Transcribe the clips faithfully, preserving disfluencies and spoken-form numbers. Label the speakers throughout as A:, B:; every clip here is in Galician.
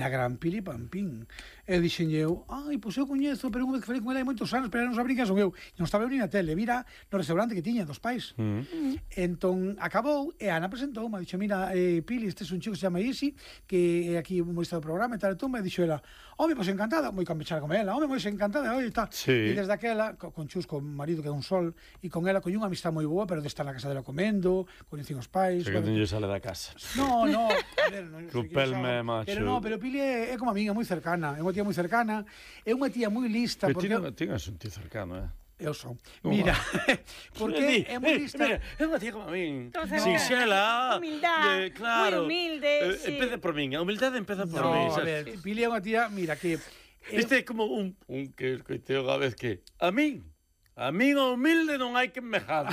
A: a gran Pili Pampín. E dixen eu, ai, pois eu coñezo, pero unha vez que falei con ela hai moitos anos, pero non sabría que son eu. Non estaba eu ni na tele, vira no restaurante que tiña dos pais. Mm. Mm. Entón, acabou, e Ana presentou, me dixo, mira, eh, Pili, este é un chico que se chama Isi, que é aquí un humorista do programa, e tal, e tú, me dixo ela, home, pois encantada, moi campechar con ela, home, pois encantada, oi, tal.
B: Sí.
A: E desde aquela, con Chus, con o marido que é un sol, e con ela coño unha amistad moi boa, pero de estar na casa dela comendo, coñecín os pais.
B: Se que non lle sale da casa.
A: No, no, a ver, non sei que
B: Pelme, macho.
A: Pero no, pero Pili é, é como a miña, moi cercana, é unha tía moi cercana, é unha tía moi lista.
B: Pero
A: porque
B: ti non un tío cercano, eh?
A: Eu son. Mira, porque é moi lista.
B: Mira, é unha tía como a min.
C: Sinxela. Humildade.
B: Claro.
C: Moi humilde,
B: eh,
C: sí.
B: Empeza por min. A humildade empeza por
A: No,
B: min.
A: a ver, Pili é unha tía, mira, que...
B: Este é como un, un que escoiteo unha vez que... A min, a min o humilde non hai que enmejade.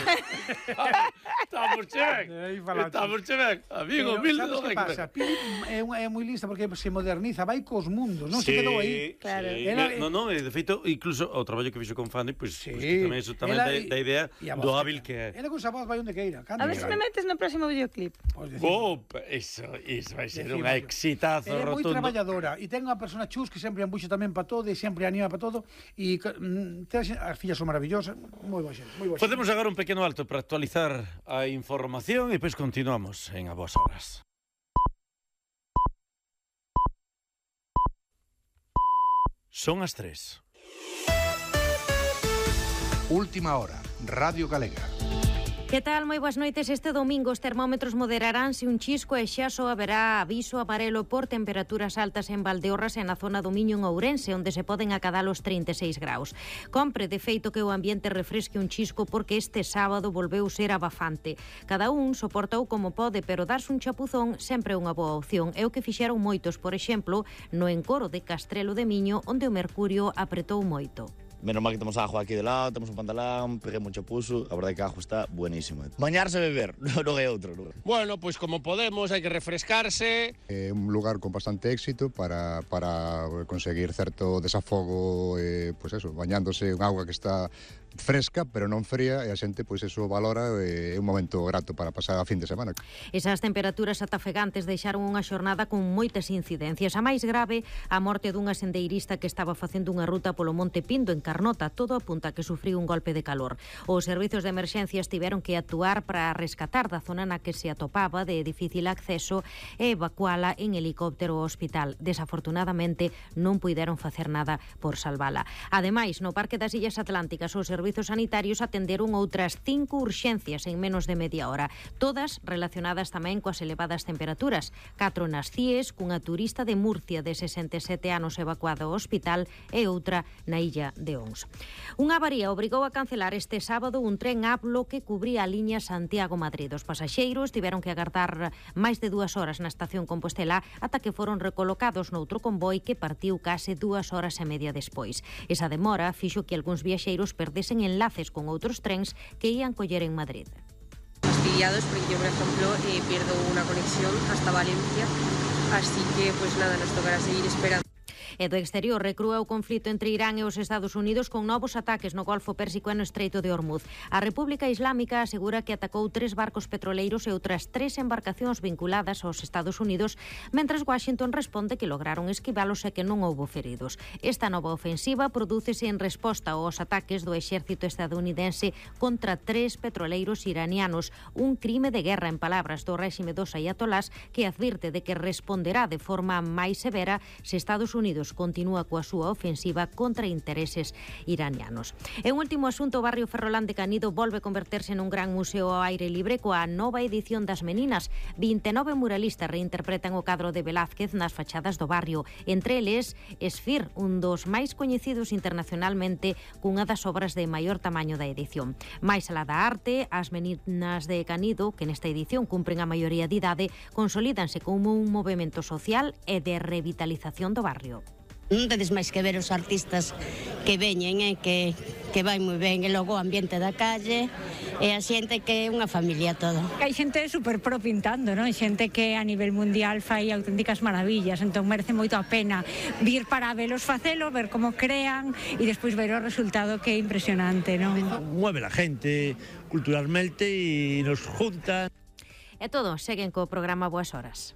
B: Estamos che ben. Estamos che ben. A min o humilde non hai que enmejade.
A: Pili é, é moi lista porque se moderniza, vai cos mundos, non
B: sí,
A: se quedou aí.
C: Claro.
B: Sí.
A: Ela,
B: no, no, de feito, incluso o traballo que fixo con Fanny, pois pues,
A: sí.
B: pues, que tamén é tamén da, da idea do hábil que é.
A: Ela con esa voz vai onde queira.
C: A ver se me metes no próximo videoclip.
B: Oh, eso, eso vai ser unha exitazo
A: rotundo. É moi
B: rotundo.
A: traballadora e ten unha persona Chus que sempre embuxa tamén para todo e sempre anima para todo e mm, as fillas son maravillosas, moi boa xente, moi boa xente.
B: Podemos agora un pequeno alto para actualizar a información e depois continuamos en A Boas Horas. Son as tres.
D: Última hora, Radio Galega.
E: Que tal? Moi boas noites. Este domingo os termómetros moderaránse un chisco e xa só haberá aviso amarelo por temperaturas altas en Valdeorras e na zona do Miño en Ourense, onde se poden acadar os trinta e seis graus. Compre, de feito, que o ambiente refresque un chisco porque este sábado volveu ser abafante. Cada un soportou como pode, pero darse un chapuzón sempre é unha boa opción. É o que fixeron moitos, por exemplo, no encoro de Castrelo de Miño, onde o mercurio apretou moito.
F: Menos mal que temos agua aquí de lado, temos un pantalón, peguei mucho puso, a verdade que a agua está buenísima. Bañarse e beber, non é outro. Non.
G: Bueno, pois pues como podemos, hai que refrescarse.
H: É un lugar con bastante éxito para, para conseguir certo desafogo, eh, pois eso, bañándose en agua que está fresca, pero non fría, e a xente, pois eso valora, e é un momento grato para pasar a fin de semana.
E: Esas temperaturas atafegantes deixaron unha xornada con moitas incidencias. A máis grave, a morte dunha sendeirista que estaba facendo unha ruta polo Monte Pindo en Carnota. Todo apunta que sufriu un golpe de calor. Os servizos de emerxencias tiveron que actuar para rescatar da zona na que se atopaba de difícil acceso e evacuala en helicóptero ao hospital. Desafortunadamente, non puideron facer nada por salvala. Ademais, no Parque das Illas Atlánticas, os servizos sanitarios atenderon outras cinco urxencias en menos de media hora, todas relacionadas tamén coas elevadas temperaturas. Catro nas C I E S, cunha turista de Murcia de sesenta e sete anos evacuada ao hospital e outra na illa de Ons. Unha avaría obrigou a cancelar este sábado un tren Ablo que cubría a liña Santiago-Madrid. Os pasaxeiros tiveron que agardar máis de dúas horas na estación Compostela ata que foron recolocados noutro convoi que partiu case dúas horas e media despois. Esa demora fixo que algúns viaxeiros perdesen enlaces con outros trens que ían coller en Madrid.
I: Fastidiados porque yo, por ejemplo, eh, pierdo una conexión hasta Valencia, así que pues nada, nos tocará seguir esperando.
E: E do exterior recrúa o conflito entre Irán e os Estados Unidos con novos ataques no Golfo Pérsico e no Estreito de Hormuz. A República Islámica asegura que atacou tres barcos petroleiros e outras tres embarcacións vinculadas aos Estados Unidos, mentras Washington responde que lograron esquivalos e que non houbo feridos. Esta nova ofensiva prodúcese en resposta aos ataques do exército estadounidense contra tres petroleiros iranianos, un crime de guerra en palabras do réxime dos ayatolás, que advirte de que responderá de forma máis severa se Estados Unidos continúa coa súa ofensiva contra intereses iranianos. En último asunto, o barrio Ferrolán de Canido volve converterse nun gran museo ao aire libre coa nova edición das Meninas. vinte e nove muralistas reinterpretan o cadro de Velázquez nas fachadas do barrio. Entre eles, Esfir, un dos máis coñecidos internacionalmente cunha das obras de maior tamaño da edición. Mais alá da arte, as Meninas de Canido, que nesta edición cumpren a maioría de idade, consolídanse como un movemento social e de revitalización do barrio.
J: Non tedes máis que ver os artistas que veñen e que, que vai moi ben, e logo o ambiente da calle e a xente que é unha familia toda.
K: Hai xente super pro pintando, non? Xente que a nivel mundial fai auténticas maravillas, entón merece moito a pena vir para velos facelo, ver como crean e despois ver o resultado, que é impresionante, non?
L: Mueve la gente culturalmente e nos junta.
E: E todo, seguen co programa Boas Horas.